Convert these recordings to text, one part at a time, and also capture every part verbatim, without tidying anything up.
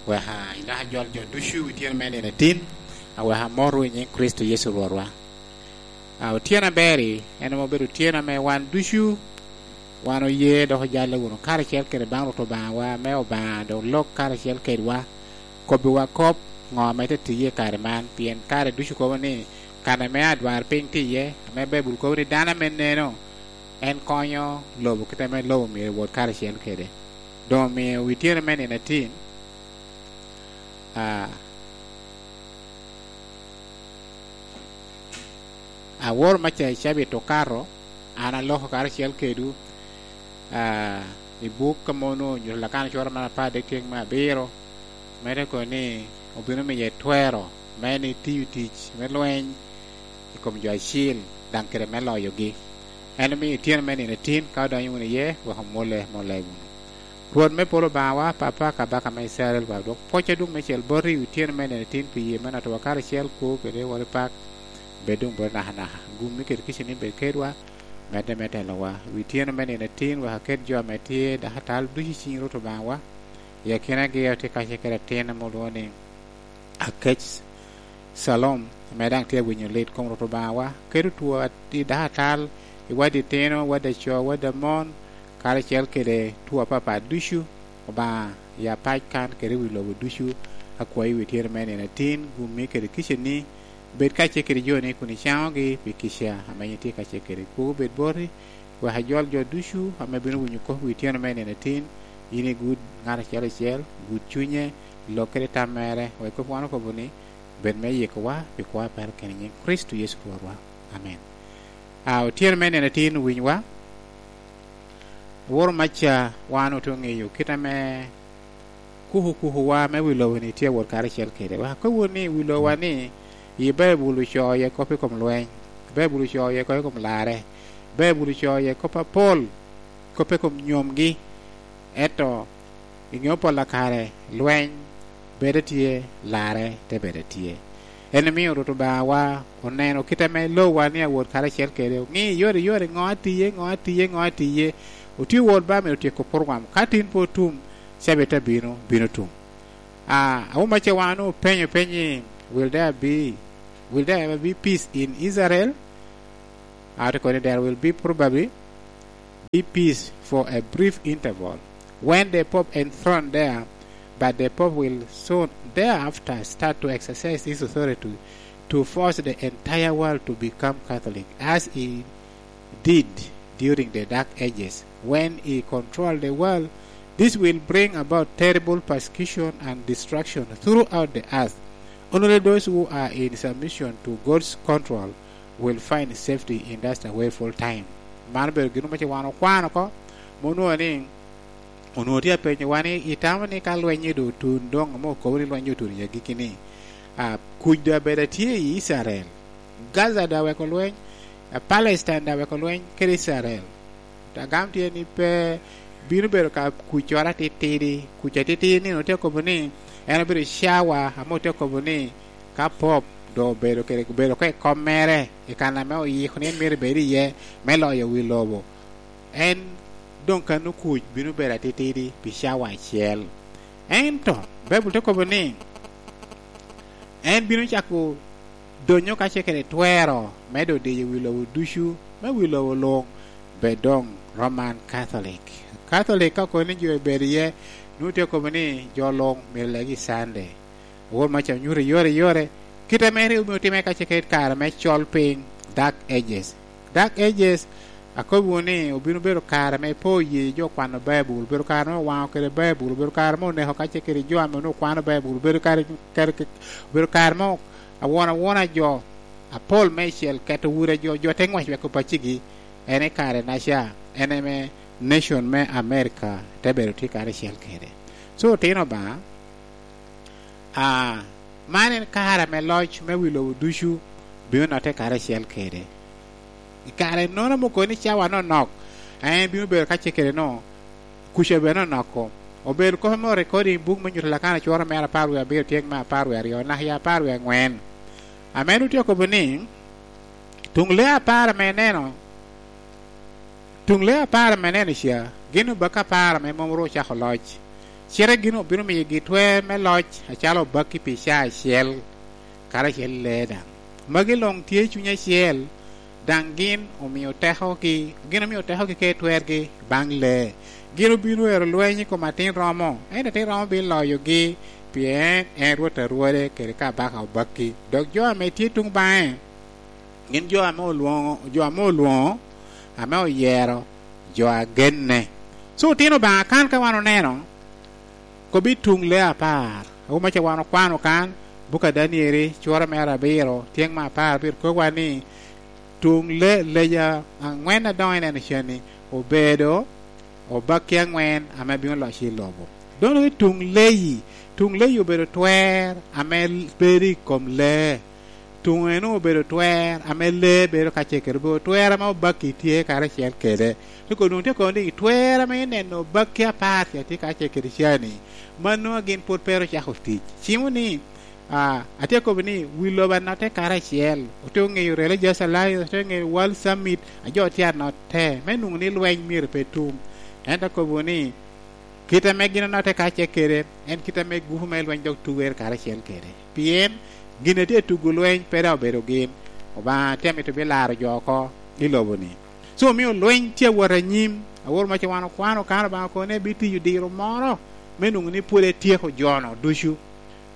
Weka ilak ajol jo ducu i tyeno me nino atin, aweka amotwu i nyiŋ Kricito Yecu Rwotwa. A, otyeno aber-ri en ame obedo otyeno ame wan ducu, wan oye dok ojalle wunu karacel kede baŋ Rwot Obaŋawa, ame Obaŋa dok lok karacel kedwa, kobbiwa kop ŋo ame te tiye i kare man, pien kare ducu kobo ni kan ame adwarpiny tye iye, ame Baibul kobo ni dano ame neno, en konyo lobo kit ame lobo myero ewot karacel kede. Doŋ omio wi tyeno me nino atin, a, aworo maca i cabit okato, an aloko karacel kedwu, a, i buk ame onwoŋo onyuto Lakana cwara man apar dek ceng me abiro, me te kono ni obino miye twero me ni tiyo tic me lweny i kom jo acil, daŋ kede me loyogi. En omio i tyeno me nino atin, ka odonyo wunu iye, wek omole, mole wunu. Rwot me polo Obaŋawa, Papa, Kabaka me Icrael, wa dwok pwoc adwoŋ meicel boti i wi tyeno me nino atin pi yee me notowa karacel, kwo kede woro i pak, bed doŋ boti nakanaka. Gummi kede kicini bed kedwa, medde me telowa. Wi tyeno me nino atin, wek aket jo ame tye dako atal ducu i ciŋ Rwot Obaŋawa, i akinagi otye kacel kede atin ame olwoŋo ni Akec Calom, ame daŋ tye awinyo lit kom Rwot Obaŋawa, kede otwo at-, i dako atal, i waddi itino, waddi aco, waddi amon, karacel kede two apapat ducu, Obaŋa, ya pac kan kede wi lobo ducu, akwayi wi tyeno me nino atin, gummi kede kiceni, bed kacel kede joni kun icaŋogi pi kica ame yin itye kacel kede kwogo bed boti, wek ajol jo ducu ame bino winyo kop wi tyeno me nino atin, yin igud ŋat acel acel, gud cunye, lok kede tam mere, wek kop wan okobo ni, bed me yikowa pi kwo a perakino i nyiŋ Kricito Yecu Rwotwa. Amen. A, otyeno me nino atin owinywa, aworo maca wan ote ŋeyo kit ame kuku kukuwa me wi lobo-ni tye awot karacel kede. Wek akobwu ni, wi lobowa-ni, i Baibul ocoo iye kop i kom lweny, Baibul ocoo iye kop i kom larre, Baibul ocoo iye kop apol, kop i kom nyomgi. Ento i ŋeo pol a kare, lweny bed atye, larre te bed atye. En omio Rwot Obaŋawa oneno kit ame lobowa ni awot karacel kede, oŋi yore yore, ŋo atiye, ŋo atiye, ŋo atiye. Otye wot ba myero otyeko program. Ka tin pe otum, cabit abino, bino tum. A, awuma ce wan openyo peny ni, will there be, will there ever be peace in Israel? A, te kono ni, there will be probably be peace for a brief interval when the Pope enthroned there, but the Pope will soon thereafter start to exercise his authority to force the entire world to become Catholic, as he did during the Dark Ages, when he controlled the world. This will bring about terrible persecution and destruction throughout the earth. Only those who are in submission to God's control will find safety in that awful time. Man obedo gin mo ce wan okwano oko, ma onwoŋo ni, onwoŋo tye apenyowa ni, itamo ni ka lweny-nyi doŋ otun, doŋ ame okobo ni lweny-nyi otun i agikki-ni, a, kuc doŋ abedo atye i Icrael, Gaza doŋ aweko lweny, a, Palestine doŋ aweko lweny kede Icrael. Agam tye ni pe bino bedo ka kuccoro atitidi, kuc atitidi ni, otye kobo ni en obedo cawa ame otye kobo ni ka Pop doŋ obedo kede, obedo oko i kom mere, i kan ame oyiko ni en myero ebed iye me loyo wi lobo, en doŋ kano kuc bino bedo atitidi pi cawa acel. Ento Baibul te kobo ni en bino cako donyo kacel kede twero me doŋ diyo wi lobo ducu, me wi lobo luŋ bed doŋ Roman Catholic. Catholic ka kono ni jo obedo iye, nwoŋo tye kobo ni jo luŋ myero legi i Sunday. Awor maca onyuto i yore i yore, kit ame rik omio otimme kacel kede kare me col piny, Dark Ages. Dark Ages, akobbiwu ni obino bedo kare ame pe oye jo kwano Baibul, obedo kare ame owaŋo kede Baibul, obedo kare ame oneko kacel kede jo ame onwoŋo kwano Baibul, obedo kare, kare, obedo kare ame awon awona jo apol meicel keto ure jo, jo te ŋwec wek opacigi, en i kare naca, en ame nation me America te bedo tye karacel kede. So, otino Obaŋa, a, man en kare ame loc me wi lobo ducu bino notte karacel kede. I kare-nono ame okobo ni cawa nonok, en bino bedo kacel kede no, kuca bene onoko. Obedo kop ame orekodi i buk me nyuto Lakana cworo mere apar wie abiro, tyeng me apar wie aryo, naka i apar wie aŋwen. Ame nwoŋo tye okobo ni, tuŋ lee apar ame ineno, tuŋ lee apar ame ineno ca, gin obakki apar ame mom ru ocako loc. Cite gin obino miyogi twer me loc acalo obakki pi caa acel, karacel i lee daŋ. Magi luŋ tye i cuny acel, daŋ gin omio tekogi, gin omio tekogi kede twergi baŋ lee. Gin obino ero lweny i kom atin romo, ento atin romo bino loyogi, pien en Rwot a rwode kede Kabaka obakki. Dok jo ame tye tuŋ baŋe, gin jo ame olwoŋo, jo ame olwoŋo, ame oyero, jo a genne. So, otino Obaŋa kan ka wan oneno, kobbi tuŋ lee apar. Awobi maca wan okwano kan, buk a Danieli, cura mere abiro, tyeŋ me apar, bino kobowa ni, tuŋ lee, leja aŋwen adoŋo ineno cani, obedo obakki aŋwen ame bino loc i lobo. Doŋ i tuŋ leyi, tuŋ leyi obedo twer ame bedo i kom lee. Tuŋ eno obedo twer ame lee bedo kacel kede, obedo twer ame obakki tye karacel kede. Te kono, te kono ni, twer ame ineno obakki apar ca tye kacel kede cani, mano a gin pwod pe ru ocako tic. Cimo ni, ah, atye kobo ni, wi lobo anotte karacel, ote oŋeyo Religious Alliance, ote oŋeyo World Summit, a jo tye anotte, me nwoŋo ni lweny myero pe tum. Ento akobo ni, kit ame gin onotte kacel kede, en kit ame gupu me lweny dok tuger karacel kede. Pien gin a tye tugo lweny pe daŋ obedo gin. Obaŋa tye amito bilaro jo oko i lobo-ni. So, omio lweny tye awot anyim, awor maca wan okwano kan Obaŋa kono ni ebitiyo diro moro me nwoŋo ni pwod etyeko jo-no ducu.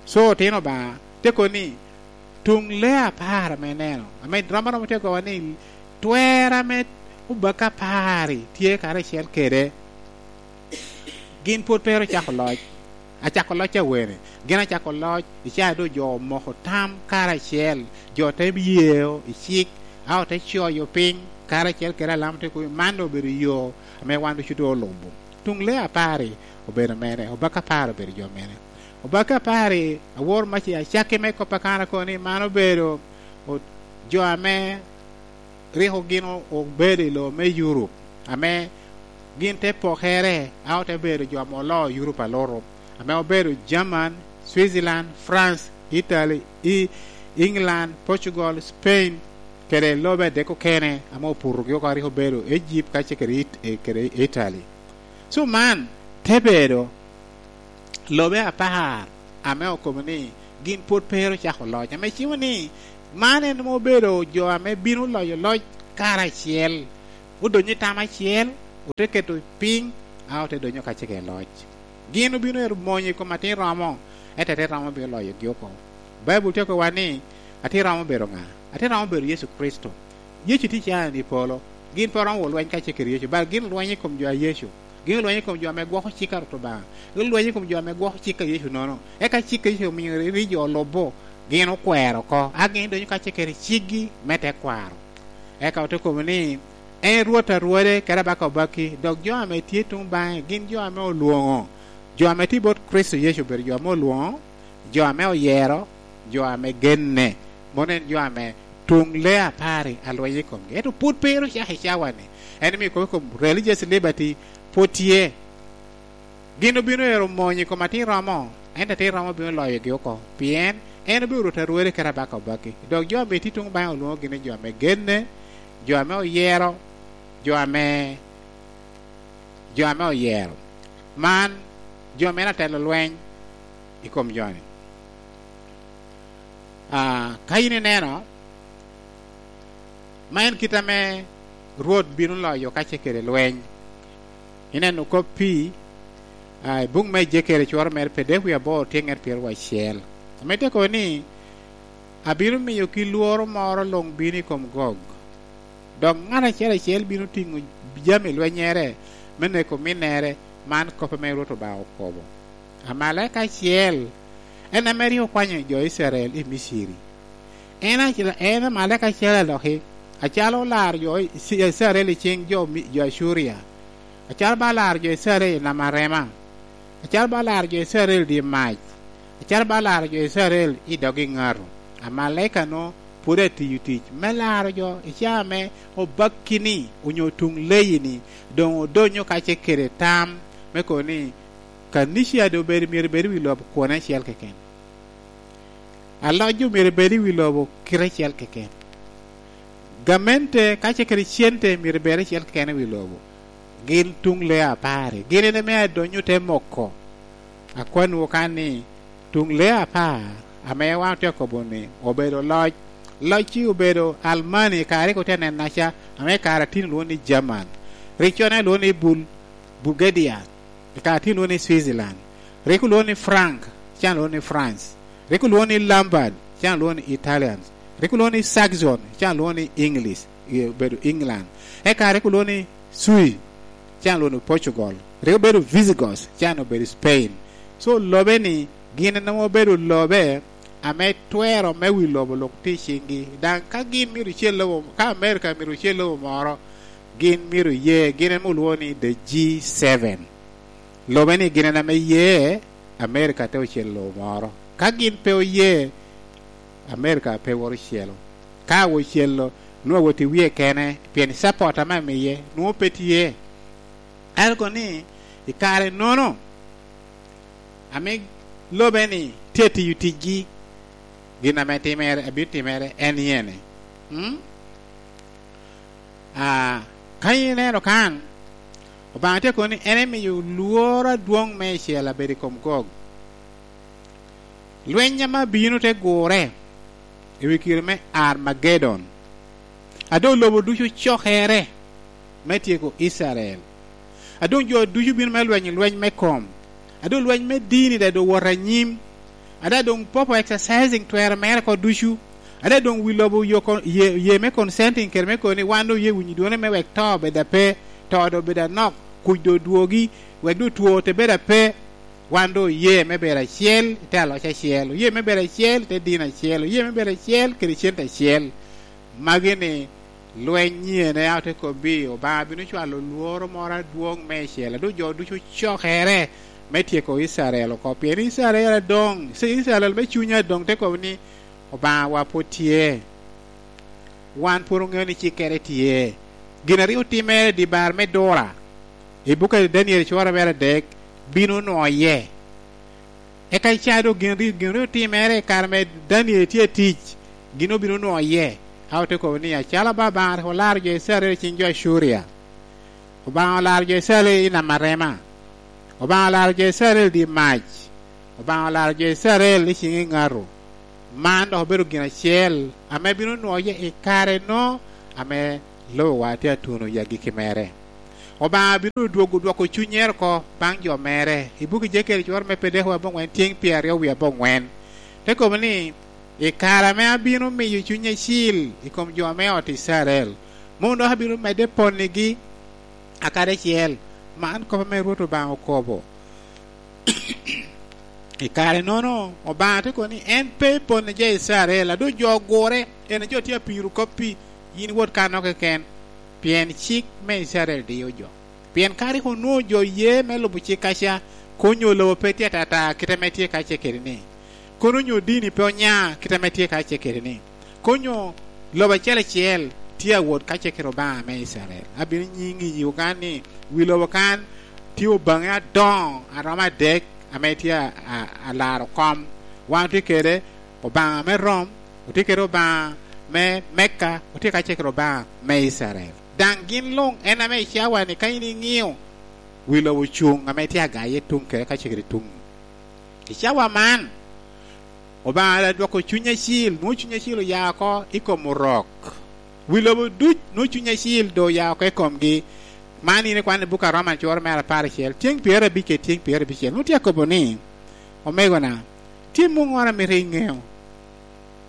So, otino Obaŋa te kobo ni, tuŋ lee apar ame ineno, ame rom aromo tye kobo ni, twer ame obakki apar-ri tye karacel kede, gin pwod pe ru ocako loc. Acako loc awene, gin acako loc, i caa doŋ jo omoko tam karacel, jo te yeo i cik, a ote coyo piny, karacel kede Alamo te kuyo, man doŋ obedo yo ame wan ducu doŋ olubo. Tuŋ lee apar-ri obedo mene, obakki apar obedo jo mene? Obakki apar-ri, awor mac i acakki me kop a kan akobo ni man obedo o-, jo ame rik gin o-, obedo i lobo me Europe, ame gin te pokere, a ote bedo jo ame oloo Europe alutu, ame obedo German, Switzerland, France, Italy, i England, Portugal, Spain, kede lobe adek okene ame oputogi oko, a rik obedo Egypt kacel kede It-, eh, kede Italy. So man te bedo lobe apar ame okobo ni gin pwod pe ru ocako loc, ame cimo ni man en ame obedo jo ame bino loyo loc karacel, odonyo i tam acel, ote keto piny, a ote donyo kacel kede loc. Gin obino ero monyo i kom atin romo, ento atin romo bino loyogi oko. Baibul tye kowa ni, atin romo obedo ŋa? Atin romo obedo Yecu Kricito. Yecu tye cani i polo. Gin pe oromo wot lweny kacel kede Yecu, bal gin olweny i kom jo a Yecu. Gin olweny i kom jo ame gwoko cik a Rwot Obaŋa. Gin olweny i kom jo ame gwoko cik a Yecu nono. Eka cik a Yecu omio ri jo olubo, gin okwero oko, a gin donyo kacel kede ciggi me tekwaro. Eka ote kobo ni, en Rwot a rwode, kede Abaka obakki, dok jo ame tye tuŋ baŋe gin jo ame olwoŋo. Jo ame tye bot Kricito Yecu obedo jo ame olwoŋo, jo ame oyero, jo ame genne, mono en jo ame tuŋ lee apar-ri alweny i komgi. Ento pwod pe ru ocako i cawa-ni. En omio kop i kom religious liberty pwod tye. Gin obino ero monyo i kom atin romo, ento atin romo bino loyogi oko, pien en obedo Rwot a rwode kede Abaka obakki. Dok jo ame tye tuŋ baŋe olwoŋogi ni jo ame genne, jo ame oyero, jo ame, jo ame oyero. Man, jo mene atelo lweny i kom jo-ni? Ah, ka in ineno, ma en kit ame Rwot bino loyo kacel kede lweny. Ineno kop pi, ah, i buk me Ejekeri cworo mere pe dek wie aboro tye ŋet pyeraryo acel. Ame te kobo ni, "Abino miyogi lworo moro luŋ bino i kom Gog. Dok ŋat acel acel bino tiŋo jami lwennyere me neko ominnere." Man kop ame Rwot Obaŋa okobo. Amalaika acel, en ame rik okwanyo jo Icrael i Miciri. En acel, en amalaika acel aloki, acalo olaro jo Ici-, Icrael i ciŋ jo Mi-, jo Acuria, acalo ba olaro jo Icrael i nam arema, acalo ba olaro jo Icrael i dye mac, acalo ba olaro jo Icrael i dog eŋato. Amalaika-nu pwod atiyo tic me laro jo i caa ame obakki-ni onyo tuŋ leyi-ni doŋ odonyo kacel kede tam me kobo ni, kanica doŋ obedo, myero ebed i wi lobo kwone acel keken. Aloc doŋ myero ebed i wi lobo kite acel keken. Gamente kacel kede cente myero ebed acel keken i wi lobo. Gin tuŋ lee apar-ri, gin en ame adonyo te moko. Akwanniwu kan ni, tuŋ lee apar ame wan otye akobo-ni obedo loc. Locci obedo Almani i kare rik otye anennaca, ame i kare atino lwoŋo ni German. Rik conne lwoŋo ni Bul-, Bulgaria, i kare atino lwoŋo ni Switzerland. Rik olwoŋo ni Frank, can lwoŋo ni France. Rik olwoŋo ni Lombard, can lwoŋo ni Italians. Rik olwoŋo ni Saxon, can lwoŋo ni English, i-, obedo England. Eka rik olwoŋo ni Sui, can lwoŋo ni Portugal. Rik obedo Visigoths, can obedo Spain. So, lobe-ni gin en nwoŋo obedo lobe ame twero me wi lobo lok tye i ciŋgi. Daŋ ka gin myero ocel lobo, ka America myero ocel lobo moro, gin myero oye, gin en olwoŋo ni the G seven. Lobe-ni gin en ame ye, America te ocel lobo moro. Ka gin pe oye, America pe wot ocelo. Ka ocelo, nwoŋo awot i wie kene, pien support ame amiye nwoŋo pe tye. Ento kono ni, i kare-nono, ame lobe-ni tye atiyo ticgi, gin ame timere, abino timere en iyene. Mm? Ah, ka ineno kan, Obaŋa tye kono ni en emiyo lworo adwoŋ meicel abedo i kom Gog. Lweny ame abino te gurre i wi kite me Armagedon. A doŋ lobo ducu cokere me tyeko Icrael. A doŋ jo ducu bino me lwenyo lweny me kom. A doŋ lweny me dini daŋ doŋ wot anyim. A daŋ doŋ Popo exercising twero mere oko ducu. A daŋ doŋ wi lobo oyo kon-, ye, ye me consenting kede me kono ni wan doŋ oye winyo dwone me wek to obed ape, to doŋ obed anok, kuc doŋ odwogi, wek doŋ two te bed ape. Wan doŋ oye me bedo acel i te aloc acel, oye me bedo acel i te dino acel, oye me bedo acel kede cente acel. Magi-ni lweny nyene a ote kobbi, Obaŋa bino cwalo lworo moro adwoŋ meicel, a doŋ jo ducu cokere me tyeko Icrael oko, pien Icrael adoŋ, ci Icrael me cunya adoŋ te kobo ni, "Obaŋawa pwod tye." Wan pwod oŋeo ni cikkere tye. Gin a rik otimere i dye bar me Dura, i buk a Daniel cwora mere adek, bino nwoye. Eka ica doŋ gin rik, gin rik otimere i kare ame Daniel tye atic, gin obino nwoye. A ote kobo ni, "Acalo Obaŋa rik olaro jo Icrael i cing jo Acuria." Obaŋa olaro jo Icrael i nam arema. Obaŋa olaro jo Icrael i dye mac. Obaŋa olaro jo Icrael i ciŋ eŋato. Man dok obedo gin acel ame bino nwoye i kare-no ame lobowa tye atuno i agikki mere. Obaŋa bino dwogo dwoko cunnyere oko baŋ jo mere. I buk Ejekiel cwero me Pedeko aboŋwen tyeŋ pyeraryo wie aboŋwen. Te kobo ni, "I kare ame abino miyo Cuny Acil i kom jo me ot Icrael, mom dok abino medde ponnigi akadi acel." Man kop ame Rwot Obaŋa okobo. I kare-nono, Obaŋa te kobo ni en pe pone jo Icrael, a doŋ jo ogure, en jo tye apiro koppi, yin wot kanno keken, pien cik me Icrael diyo jo. Pien ka rik onwoŋo jo ye me lubo cik kaca, kono onyo lobo pe tye atata kite ame tye kace kede-ni, kono onyo dini pe onya kite ame tye kace kede-ni, kono onyo lobo acel acel tye awot kace kede Obaŋa me Icrael. Abino nyiŋi i Uganda ni wi lobo kan tye obaŋe adoŋo a romo adek ame tye a, a, alaro kom. Wan otye kede Obaŋa me Rom, otye kede Obaŋa me Mecca, otye kace kede Obaŋa me Icrael. Daŋ gin luŋ en ame i cawa-ni ka in iŋio, wi lobo cuŋ ame tye agaye tuŋ kede kace kede tuŋ. I cawa man, Obaŋa adwoko Cuny Acil, nwoŋo Cuny Acil oya oko i kom Orok. Wi lobo duc nwoŋo Cuny Acil doŋ oya oko i komgi. Man in ikwano i buk a Roman cwero mere apar acel, tyeŋ pyerabicel kede tyeŋ pyerabicel. Nwoŋo tye akobo ni, "Omegona, tye muŋŋoro a mito iŋeo,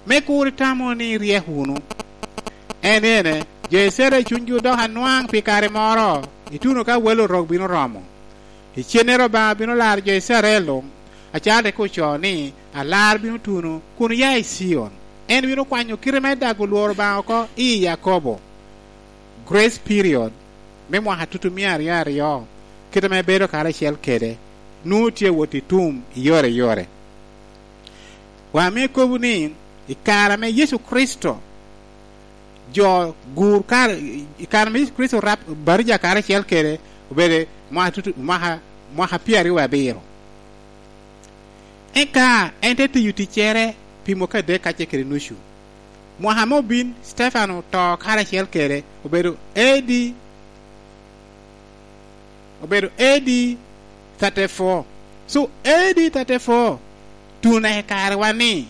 me kur itamo ni iryek wunu." En ene, jo Icrael cunygi odoko anwaŋ pi kare moro, ituno ka wel Orok bino romo. Icennere Obaŋa bino laro jo Icrael luŋ, acalo rik ocoo ni, "Alar bino tuno kun oya i Cion. En bino kwanyo kite me dago lworo Obaŋa oko i Yakobo." Grace period me mwaka tutumia aryo aryo, kite ame ebedo karacel kede, nwoŋo tye awot i tum i yore i yore. Wa ame kobo ni, i kare ame Yecu Kricito jo gur kare, i kare ame Yecu Kricito rap batija karacel kede, obedo mwaka tutu-, mwaka, mwaka pyeraryo wie abiro. Eka en te tiyo ticcere pi mwaka adek kacel kede nucu. Mwaka ame obin, Stefano oto karacel kede, obedo A D, obedo A D thirty-four. So, A D thirty-four, tun i karewa ni,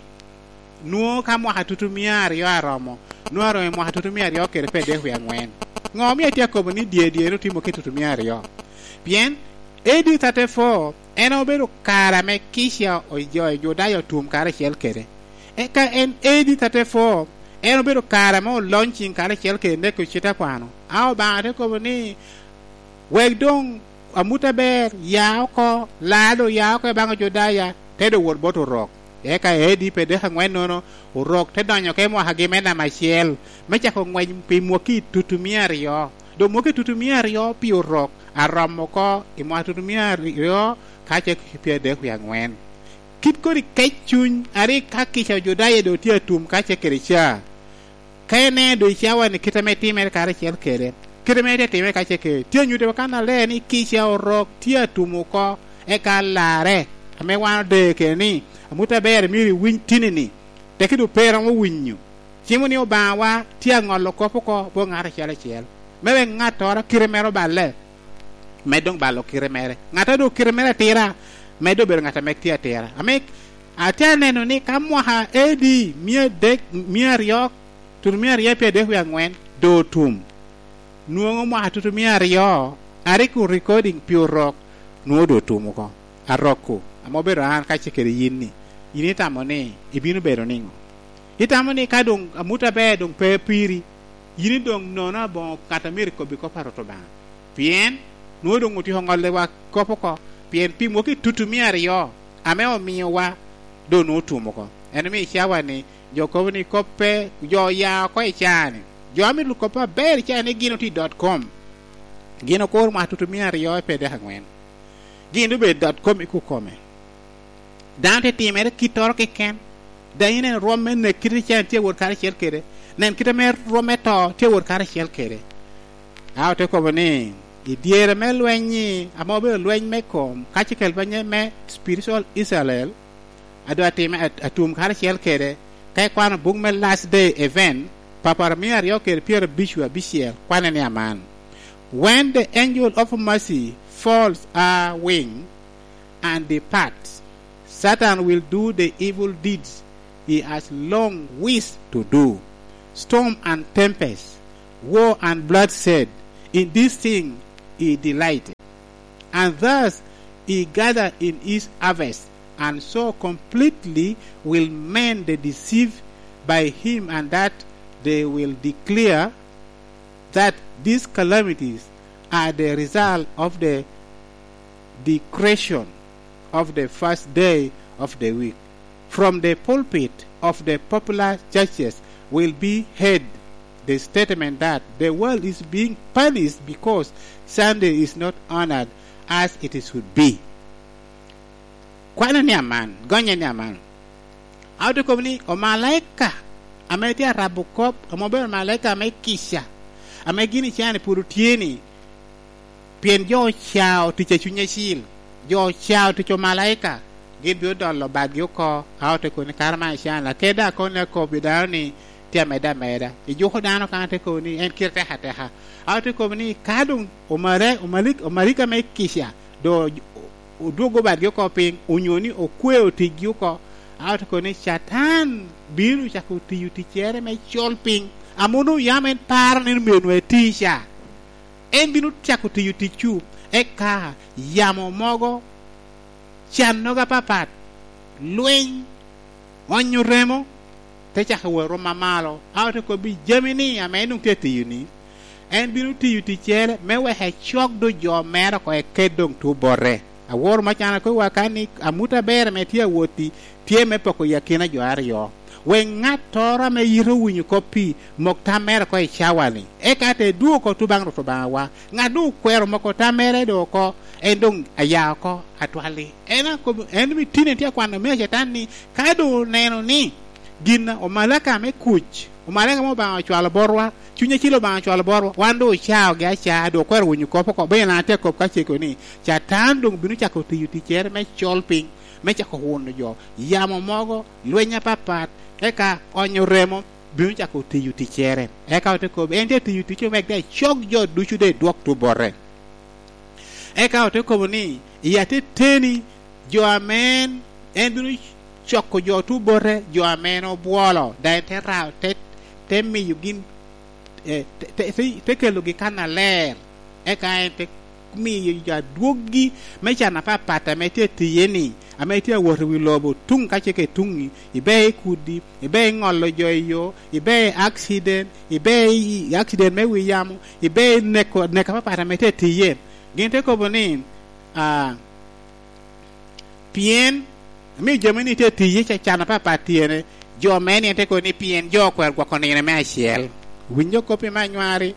nwoŋo ka mwaka tutumia aryo aromo, nwoŋo aromo i mwaka tutumia aryo kede pe dek wie aŋwen. Ŋo omio atye akobo ni dye dye-nu timo ki tutumia aryo? Pien A D thirty-four en obedo kare ame kica ojo i Judaya otum karacel kede. Eka en A D thirty-four en obedo kare ame olony ciŋ karacel kede neko cite akwano. A Obaŋa te kobo ni, wek doŋ amut aber ya oko, laa doŋ ya oko i baŋ Ojudaya, te doŋ wot bot Orok. Eka A D pe dek aŋwennono, Orok te donyo oko i mwakagi me namba acel, me cako ngwec pi mwaki tutumia aryo. Doŋ mwaki tutumia aryo pi Orok aromo oko i mwaka tutumia aryo ka ce pyadek wie aŋwen. Kit kodi kec cuny a rik ka kica Ojudaya doŋ tye atum ka ce kede ca, ka ineno doŋ i cawa-ni kite ame timere karacel kede, kite ame tye timere ka ce kede, tye anyutte wa kannaler ni kica Orok tye atum oko, eka larre ame wan odeyo kede ni, amut aber myero iwiny tini-ni, tekki doŋ pe iromo winyo. Cimo ni Obaŋawa tye aŋolo kop oko bot ŋat acel acel, me wek ŋattoro kite mere oballe, med doŋ balo kite mere. Ŋat a doŋ kite mere atira, med doŋ bedo ŋat ame tye atira. Ame atye aneno ni ka mwaka A D mia adek, mia aryo, tutumia aryo pyadek wie aŋwen doŋ otum, nwoŋo mwaka tutumia aryo a rik orikodiŋ pi Orok nwoŋo doŋ otum oko. Arok-ku, ame obedo an kacel kede yin-ni, yin itamo ni ibino bedo niŋo? Itamo ni ka doŋ amut aber doŋ pe piri, yin doŋ nono aboŋo ŋat a myero ikobbi kop a Rwot Obaŋa? Pien nwoŋo doŋ otyeko ŋolliwa kop oko, pien pi mwaki tutumia aryo ame omiowa doŋ nwoŋo otum oko. En omio i cawa-ni jo kobo ni kop pe, jo oya oko i caa-ni. Jo a mito kop aber i caa-ni gin otye i dot com. Gin okuro mwaka tutumia aryo i pyadek aŋwen. Gin doŋ obedo i dot com i kukome. Dano te timere kittoro keken. Daŋ ineno rwom me nek kite cen tye awot karacel kede. Nen kite me rwom me to tye awot karacel kede. A ote kobo ni, i dyere me lweny-nyi, ame obedo lweny me kom, ka ce kel banye me spiritual Israel, a doŋ atime at-, atum karacel kede, ka ikwano buk me Last Day Event, papara mia aryo kede pyerabic wie abicel, kwane ni aman, "When the angel of mercy folds her wing and departs, Satan will do the evil deeds he has long wished to do. Storm and tempest, war and bloodshed, in this thing he delighted. And thus he gathered in his harvest, and so completely will men be deceived by him, and that they will declare that these calamities are the result of the decretion of the first day of the week. From the pulpit of the popular churches will be heard the statement that the world is being punished because Sunday is not honored as it should be." Kwane ni aman, gonye ni aman. A ote kobo ni, omalaika ame tye arabo kop, ame obedo omalaika me kica, ame gin i caa-ni pwod otye-ni, pien jo ocao tic a Cuny Acil, jo ocao tic omalaika, gin bino dolo badgi oko. A ote kobo ni, kara man i caa-ni, kede daŋ kono ni akobo i dano ni tye amedde ameda. Ijuko dano kan te kobo ni en kite tek ateka. A ote kobo ni, ka doŋ omare-, omalik-, omalaika me kica doŋ odwogo badgi oko piny, onyo ni okweo ticgi oko, a ote kobo ni Catan bino cako tiyo ticcere me col piny, ame onwoŋo yam en paro ni myero nwoŋo eti ca. En bino cako tiyo ticcu, eka yamo mogo, cannogo apapat, lweny, onyo remo, te cako wot rwom amalo. A ote kobbi jami-ni ame en doŋ tye atiyo-ni, en bino tiyo ticcere me wek ecok doŋ jo mere oko eket doŋ tuo bote. Aworo me can akobbiwa kan ni amut aber ame tye awot-ti tye me poko i akina jo aryo, wek ŋattoro ame yite owinyo kop-pi mok tam mere oko i cawa-ni, eka te dwogo oko tuŋ baŋ Rwot Obaŋawa. Ŋat doŋ okwero moko tam mere doŋ oko, en doŋ aya oko atwal-li. En akobo, en doŋ itino tye akwano me Catan ni, ka doŋ oneno ni gin omalaika me kuc, omalaika ma Obaŋa ocwalo botwa, Cuny Acil Obaŋa ocwalo botwa, wan doŋ ocaogi acaa, doŋ okwero winyo kop oko. Bene an atye akop ka cego ni, Catan doŋ bino cako tiyo ticcere me col piny, me cako wuno jo, yamo mogo, lweny apapat, eka onyo remo bino cako tiyo ticcere. Eka ote kobo, en tye tiyo ticce wek daŋ ecok jo ducu daŋ edwok tuŋ bote. Eka ote kobo ni, i ateteni, Jo ame en, en bino coko jo otubote, jo ame en obwolo, daŋ en te ra-, te, te miyo gin, eh, te, te, te, te kelogi kannaler, eka en te miyo jo adwoggi me can apapat ame tye atiye-ni, ame tye awot i wi lobo tuŋ ka ce ka i tuŋ-ŋi, ibe i kudi, ibe i ŋolo jo i yo, ibe i accident, ibe i, i accident me wi yamo, ibe i neko, nek apapat ame tye atiye. Gin te kobo ni, ah, pien, amio jo me ni tye atiye ca can apapat tyene, jo me ni en te kobo ni pien jo okwero gwoko nino me acel. Winyo kop-pi me anywari.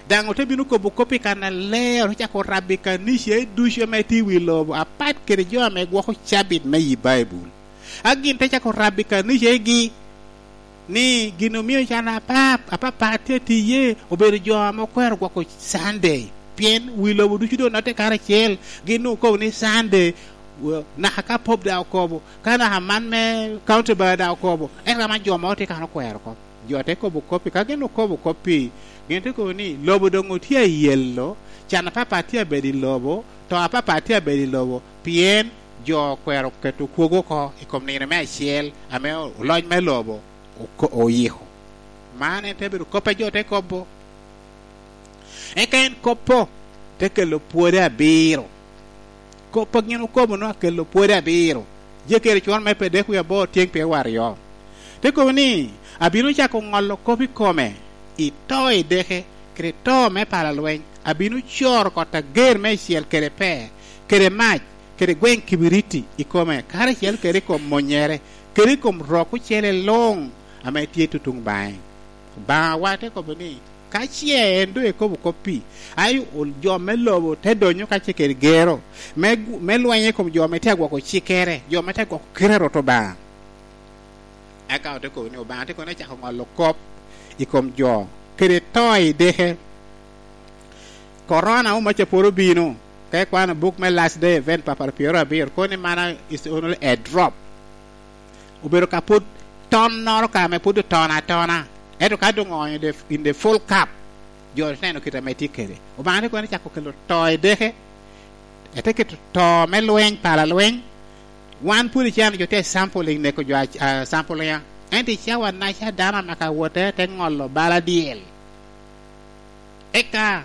Daŋ ote bino kobo kop-pi kannaler, ote cako rabo i kanicagi ducu ame tye i wi lobo, apat kede jo ame gwoko cabit me yi Baibul. A gin te cako rabo i kanicagi ni gin omio can apa-, apapat tye atiye, obedo jo ame okwero gwoko Sunday, pien wi lobo ducu doŋ onotte karacel, gin doŋ okobo ni Sunday, w-, naka ka Pope daŋ okobo, ka naka man me County Bar daŋ okobo, ento ka man jo mogo tye kan okwero oko. Jo te kobo kop-pi, ka gin okobo kop-pi, gin te kobo ni, "Lobo doŋ otye ayelo, can apapat tye abedo i lobo, to apapat tye abedo i lobo, pien jo okwero keto kwogo oko i kom nino me acel ame oloc me lobo oko-, oyiko." Man en te bedo kop a jo te kobo. Eka en kop-po te kelo pwode abiro. Kop a gin okobo nwoŋo akelo pwode abiro. Jekere cwon me pe dek wie aboro tyeŋ pyewaryo. Te kobo ni, "Abino cako ŋolo kop i kome, i to i deke, kede to me pala lweny. Abino coro kot ager me icel kede pe, kede mac, kede gweŋ kibiriti i kome, karacel kede i kom monyere, kede i kom rok ocele luŋ ame tye tutuŋ baŋe." Obaŋawa te kobo ni, Ka ce en doŋ ekobo kop-pi, ai, ol-, jo me lobo te donyo ka ce kede gero, me gu-, me lweny i kom jo ame tye agwoko cikkere, jo ame tye agwoko kite a Rwot Obaŋa. Eka ote kobo ni, Obaŋa tye kono acako ŋolo kop i kom jo, kede to i deke. Korona omaca pwod obino, ka ikwano buk me Last Day Event, papar pyero abiro, kono ni mana is only a drop. Obedo ka pwod tonnoro ka ame pwod otono atona. Ento ka doŋ oonyo the, in the full cup, jo te neno kite ame tye kede. Obaŋa te kono cako kelo to i deke, ete keto to me lweny, pala lweny. Wan pwod icano jo tye sampling, neko jo a, a sampling. Ento i cawa naca dano amaka wote te ŋolo bala dyel. Eka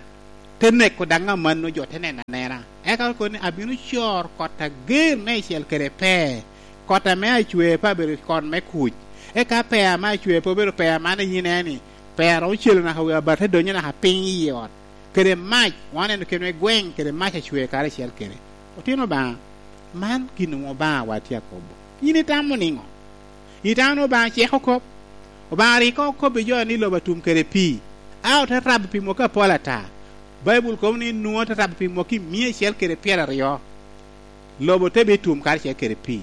te neko daŋ amanno, jo te neno anena. Eka okobo ni, "Abino coro kot ager me icel kede pe, kot ame acwe pe abedo kot me kuc. Eka pe ame acwe pe obedo pe aman a yin eni, pe a romo celo naka wi abar te donyo naka piny i ot, kede mac, wan oneno kenwa i gweŋ kede mac acwe karacel kede." Otino Obaŋa, man gin onwoŋo Obaŋawa tye akobo. Yin itamo niŋo? Itamo ni Obaŋa ceko kop? Obaŋa rik okobbi jo ni lobo atum kede pii, a ote rabo pi mwaki apol ata. Baibul kobo ni Nua te rabo pi mwaki mia acel kede pyeraryo, lobo te bitum karacel kede pii.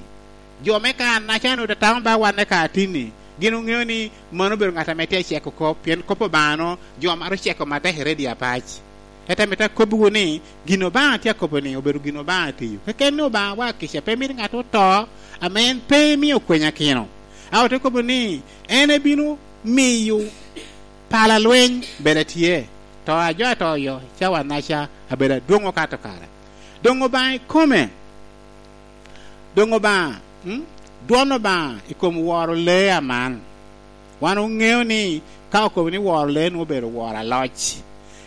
Jo me kare-naca onwoŋo te tamo ba wan me kare atinni, gin oŋeo ni mano obedo ŋat ame tye aceko kop, pien kop Obaŋa-nu jo maro ceko matek i redio apac. Ento amito akobbiwu ni, gin Obaŋa tye akobo ni obedo gin Obaŋa tiyo. Keken ni Obaŋawa kica pe mito ŋat oto, ame en pe emio kwenyakino. A ote kobo ni, en ebino miyo pala lweny bedo atye, to a jo atoyo cawa-naca abedo adwoŋ okato kare. Doŋ Obaŋa ikome, doŋ Obaŋa, mm, dwon Obaŋa i kom woro lee aman. Wan oŋeo ni ka okobo ni woro lee nwoŋo obedo woro aloc.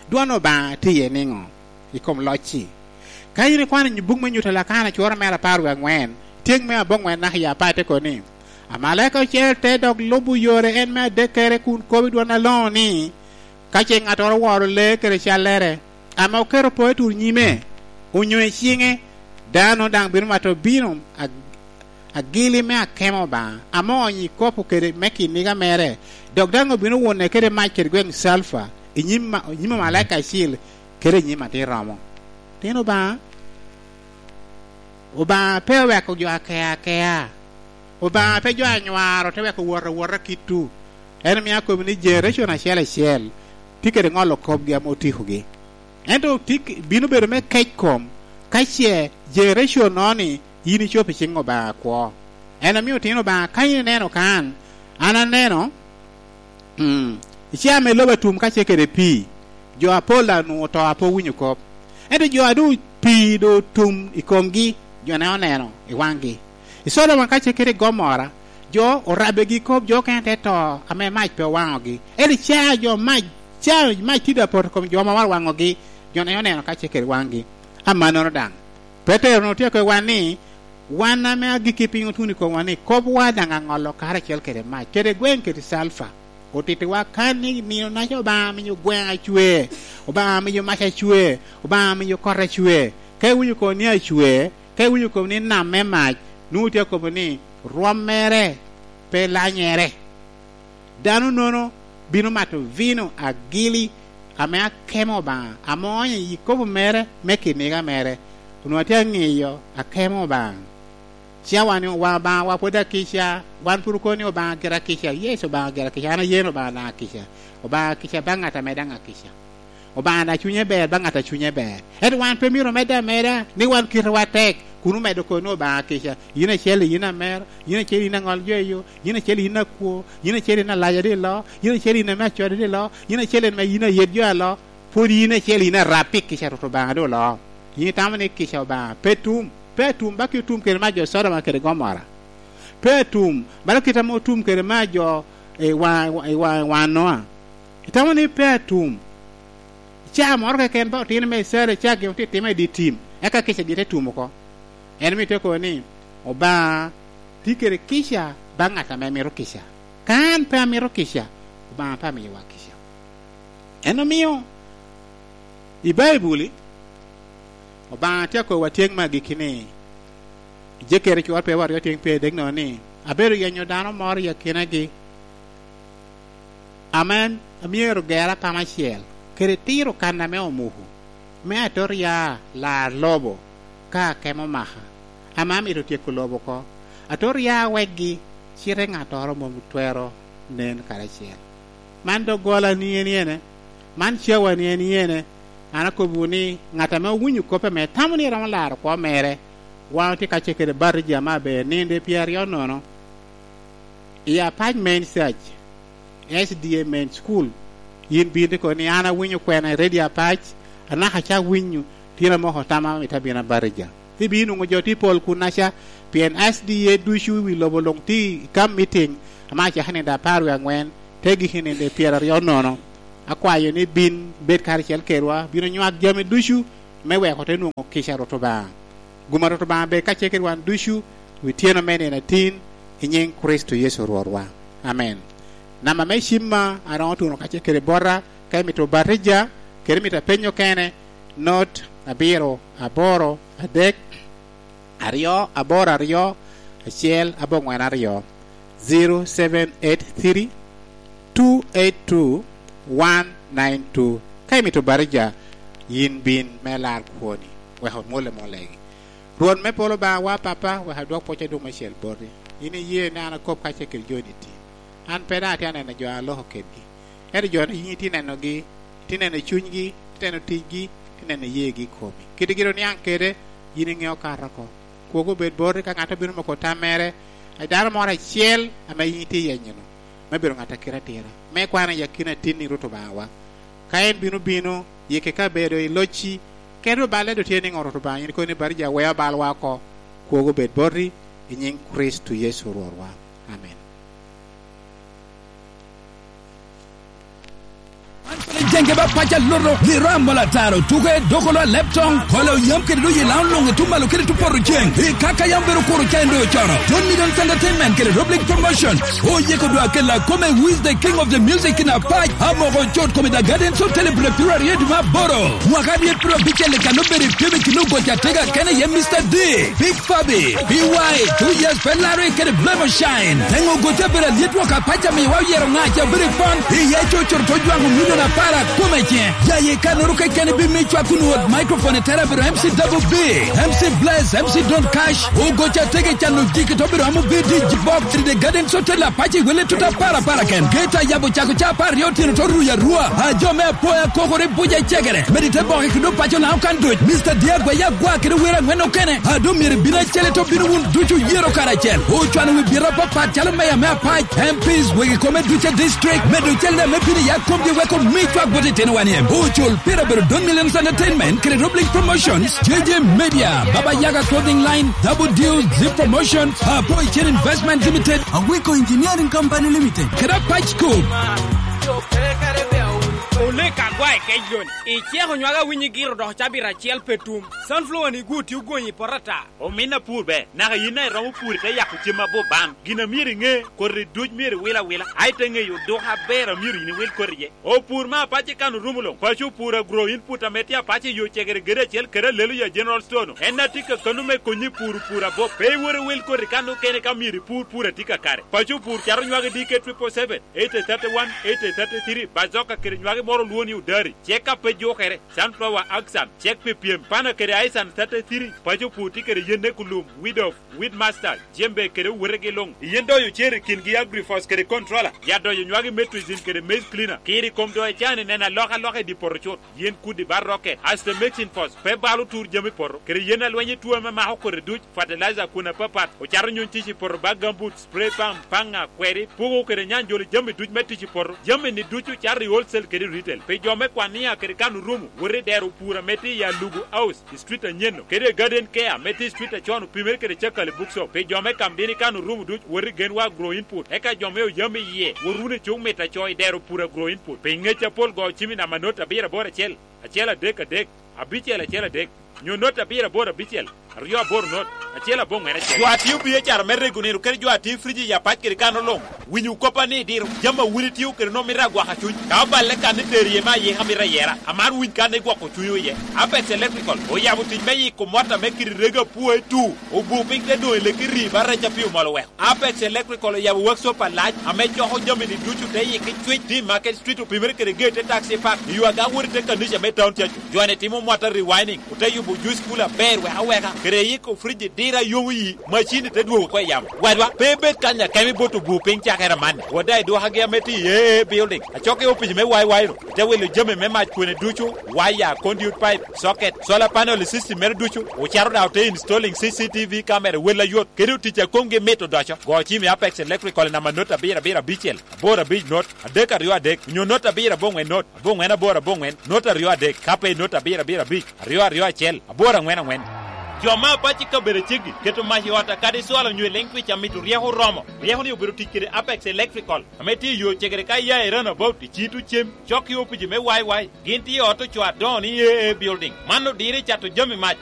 Dwon Obaŋa tye iye niŋo i kom loc-ci? Ka in ikwano i buk me Nyuto Lakana, cworo mere apar wie aŋwen, tyeŋ me aboŋwen naka i apar te kobo ni, "Amalaika ocel te dok lubo yore en me adekkere kun kobo i dwon aloŋo ni, 'Ka ce ŋattoro oworo lee kede callere, ame oketo poo i tur nyime, onyo i ciŋe, dano daŋ bino mato bino ag-, agili me akemo Obaŋa, ame oonyo i kop-pu kede me kiniga mere, dok daŋ obino wune kede mac kede gweŋ calfa i nyim ma-, i nyim amalaika acil kede i nyim Atin Romo.'" Tyen Obaŋa, Obaŋa pe oweko jo akea akea. Obaŋa pe jo anywaro te weko wot awota kitwu. En omio akobbi ni generation acel acel tye kede ŋolo kopgi ame otikogi. Ento tye k-, bino bedo me kec kom ka ce generation-no ni yin icobo i ciŋ Obaŋa akwo. En omio otino Obaŋa, ka in ineno kan, an aneno, mm, i caa me lobo atum ka ce kede pii, jo apol daŋ onwoŋo oto a pe owinyo kop. Ento jo a doŋ pii doŋ otum i komgi, jo-ne oneno i waŋgi. I Codoma ka ce kede i Gomora, jo orabbegi kop, jo okene te to ame mac pe owaŋogi. Ento i caa jo mac, caa mac tye apoto i kom jo ame maro waŋogi, jo-ne oneno ka ce kede i waŋgi. Amannono daŋ, Petero onwoŋo tye akobbiwa ni, wan ame agikki piny otuno i komwa ni, kop wa daŋ aŋolo karacel kede mac, kede gweŋ kede calfa. Otittiwa kan ni nino-naca Obaŋa miyo gweŋ acwe, Obaŋa miyo mac acwe, Obaŋa miyo kot acwe. Ka iwinyo kono ni acwe, ka iwinyo kono ni nam me mac, nwoŋo tye akobo ni rwom mere pe lanyere. Dano-nono bino mato vino agili ame akemo Obaŋa, ame oonyo i kopo mere me kiniga mere. Onwoŋo atye aŋiyo akemo Obaŋa. Cawa ni Obaŋa, Obaŋawa pwod akica, wan pwod okobo ni Obaŋa gira kica. Yes, Obaŋa gira kica, an aye ni Obaŋa daŋ akica. Obaŋa akica baŋ ŋat ame daŋ akica. Obaŋa daŋ cunye ber baŋ ŋat a cunye ber. Ento wan pe myero omedde ameda ni wan kitewa tek, kun omedo kobo ni Obaŋa akica. Yin acel yin amero, yin acel yin aŋol jo i yo, yin acel yin akwo, yin acel yin alaja dilo, yin acel yin ame acode dilo, yin acel yin ame yin ayet jo alo. Pwod yin acel yin arab pi kica Rwot Obaŋa doŋ oloo. Yin itamo ni kica Obaŋa pe tum, pe atum, ba ki otum kede me jo Codoma kede Gomora. Pe atum, bala kite ame otum kede me jo i wa-, i wa-, i wa Noa. Itamo ni pe atum. Caa moro keken ba otino me Icrael icak gin otitimo i dye tim, eka kica gin te tum oko. En omio tye kobo ni, Obaŋa tye kede kica baŋ ŋat ame mito kica. Ka an pe amito kica, Obaŋa pe amiyowa kica. En omio i Baibuli, Obaŋa tye akobo atyeŋ me agikki ni, i Jekere cwor pyewo aryo tyeŋ pyeradek nono ni, abedo yenyo dano moro i akinagi, ame amyero ger apama acel, kede tiro kan ame omuko, me atot ya lar lobo ka akemo maka, ame amito tyeko lobo oko. Atot ya wekgi, cite ŋattoro mom twero nen karacel. Man doggola ni en yene? Man cawa ni en yene? An akobbiwu ni, ŋat ame owinyo kop ame tamo ni eromo laro kwo mere, wan otye kacel kede batija me aber nino de pyeraryo nono i Apac Main Church, S D A Main School. Yin bin ikobo ni, an awinyo kwena i Radio Apac, anaka acak winyo, tyen amoko tama mito abino abatija. Ibino nwoŋo jo tye pol kunnaca, pien S D A ducu i wi lobo luŋ tye i kam mitiŋ, ame acakki nino apar wie aŋwen, te gikki nino pyeraryo nono. Akwayo ni bin bed karacel kedwa, bino nywak jami ducu, me wek ote nwoŋo kica Rwot Obaŋa. Gum a Rwot Obaŋa bed kacel kede wan ducu, wi tyeno me nino atin, i nyiŋ Kricito Yecu Rwotwa. Amen. Namba me cimma a roŋo tuno kacel kede bota, ka imito batija, kede imito apenyo kene, not abiro aboro adek, aryo aboro aryo, acel aboŋwen aryo, zero seven eight three, two eight two, one nine two. Ka imito batija, yin bin me lar kwoni, wek omwol amwola egi. Rwot me polo Obaŋawa Papa, wek adwok pwoc adwoŋ meicel boti. Yin iye ni an akop kacel kede jo-ni tin. An pe daŋ atye aneno jo a aloko kedgi. Ento jo-ni yin itye nenogi, itye neno cunygi, itye neno ticgi, itye neno yeegi i komi. Kit gin oniaŋ kede, yin iŋeo kato oko. Kwogo obed boti ka ŋat obino moko tam mere, a dano moro acel ame yin itye yenyo-nu, me bedo ŋat a kite atira, me kwano i akina tin i Rwot Obaŋawa. Ka en bino bino, yike kabedo i locci, kede oballe doŋ tye niŋo, Rwot Obaŋa? Yin ikobo ni, batija weo balwa oko. Kwogo bed boti, i nyiŋ Kricito Yecu Rwotwa. Amen. Jenge ba paca loto, liro amola taro, tuke, dokolo a leptong, kolo yam kede doyi laŋo luŋ i tumalo kede tupoto ceng. I kaka yam bedo kuro ca en doŋ ocono. John Millions Entertainment kede Rob League Promotion. Oyeko dwa kela kome Who is the King of the Music in Apac, amoko cot kome The Gardens Hotel i Bulabiro aryo dwe me aboro. Mwaka aryo piro abicel i kan obedo i pyem i kin ogoco atega kene iye Mister D, Big Fabi, B Y, Two Years pe Larry kede Blemo Shine. Teŋo ogoco abedo alyet woko apac amiyowa oyero ŋaca obedo i pon, iye cocoro to jwaŋo milion apar akome ice. Yaye kanoro kekeni bi mi cwak kun wot microphone i tere abedo M C Double B, M C Bless, M C Don Cash, ogoco atega i cano jiki to obedo amo B D J Box, the Gardens Hotel apac i wele tuta apar apar aken. Geta yabo cako ca apar aryo otyeno to ruyo arua. A jo me apoya kokore buca i cegere. Medi te boke kede opaco na okan duc. Mister Diagwa ya gwa kede wer angwen okene. A doŋ myero ibin acel ito bino wun ducu yero karacel. Ocwano wi bita papat calo meya me apac, M Ps, wegi kome duce district. Medo cel ne me bino ya komgi weko mi cwak Ate ten one M, ocul pira bedo Don Millions Entertainment, kede Roblink Promotions, J J Media, Baba Yaga Clothing Line, Double Deal, Zip Promotion, Apo Chen Investment Limited, Aweko Engineering Company Limited, kede Apac Group. Olek agwa i kec loni. Iceko nywaka winyi giro dok cabit acel pe tum. Sunflower ni gwo tye ogonyi i poto ata. Omin apur ber, naka yin a iromo pur ite yako cem abup ban. Gin a myero iŋe, koti duc myero iwil awila, a ite ŋeyo duka aber a myero yin iwil koti iye. Opur me apac i kan orumo luŋ, paco opur agro input ame tye apac i yo cegere gede acel kede alelo ya General Store-nu. En a tye kakano me konyi pur pur abup. Pe iwot iwil koti kan okene ka myero ipur pur a tye kakare. Paco opur cato nywagi D K triple seven, eighty thirty one, eighty thirty three, bazoka kede nywagi moro olwo ni odari, cek a pe jukere. Sunflower Axan, cek pi pyem, pana kede Aisan thirty three, paco pur tye kede yenne kulum, weed of, weed master, jembe kede owotegi luŋ. Yen doyo cer i kingi Agrifos kede Controller, ya doyo nywagi Metrizin kede Maize Cleaner. Kiri kom doyo can i neno alokaloka i dye poto cut. Yen kudi ba rocket, Astromycin Fos, pe balo tur jami poto, kede yen alweny i tuo ame mako kodi duc, fertilizer kun apapat, ocato nyuŋ tic i poto ba gambut, spray pump, paŋa, kweri, puko kede nyanjolo jami duc me tic i poto. Jami-ni ducu cato i wholesale kede retail. Pi jo me Kwania kede kan orumo, wot i dero pur ame tye i Alugu House, i street anyen-nu, kede i Garden Care ame tye i street acon opimere kede Cakali Bookshop. Pi jo me Kamdini kan orumo duc, wot i Genwa Agro Input. Eka jo me Oyam iye, wot wunu i cuk mito aco i dero pur Agro Input. Pi ŋec apol go cim i namba not abiro aboro acel, acel adek adek, abicel acel adek, nyo not abiro aboro abicel, aryo aboro not, acel aboŋwen acel. Jo a tio B H R me rego nino kede jo a tio friji i apac kede kano luŋ, winyo koppa ni idiro. Jami a wun itio kede nwoŋo mito agwaka cuny. Ka oballe kan itero iye me ayika mito ayera, amar winy kan igwoko cunywu iye. Apex Electrical oyabo tic me yiko mot ame kite rego apua i tu, obu piny te doŋ i leki ri ba rec a pi omol oweko. Apex Electrical oyabo workshop alac ame coko jami-ni ducu te yiki cwic, tye i Market Street opimere kede gate te Taxi Park, i yo aga wot i te kanica me Town Church. Jo-ni timo mwata rewinding, ote yubo juice cooler aber wek aweka, kede yiko fridge dira yomo yi, macin-ni te dwogo oko i yamo. Wadwa, pe ibed kanya kemi bot obu piny cakere amanni. Wot daŋ i dwokagi ame tye i A A Building, acok i opic me Y Y-nu, ite wilo jami me mac kwene ducu, waya, conduit pipe, socket, solar panel i system mere ducu, ocato daŋ ote installing C C T V camera wel ayot, kede otic a komgi mit odoco. Go cim i Apex Electrical i namba not abiro abiro abicel, aboro abic not, adek aryo adek, onyo not abiro aboŋwen not, aboŋwen aboro aboŋwen, not aryo adek, ka pe i not abiro abiro abic, aryo aryo acel, aboro aŋwen aŋwen. Jo me apac i kabedo aceggi keto mac i ot kadi cwalo onyo i leŋ twic a mito ryeko oromo. Ryeko-ni obedo tic kede Apex Electrical, ame tye i yo cegere ka iya i Runabout i Citu Cem, cok i opici me Y Y. Gin tye i ot ocoo adoŋo ni A A Building. Man odiro i cato jami mac.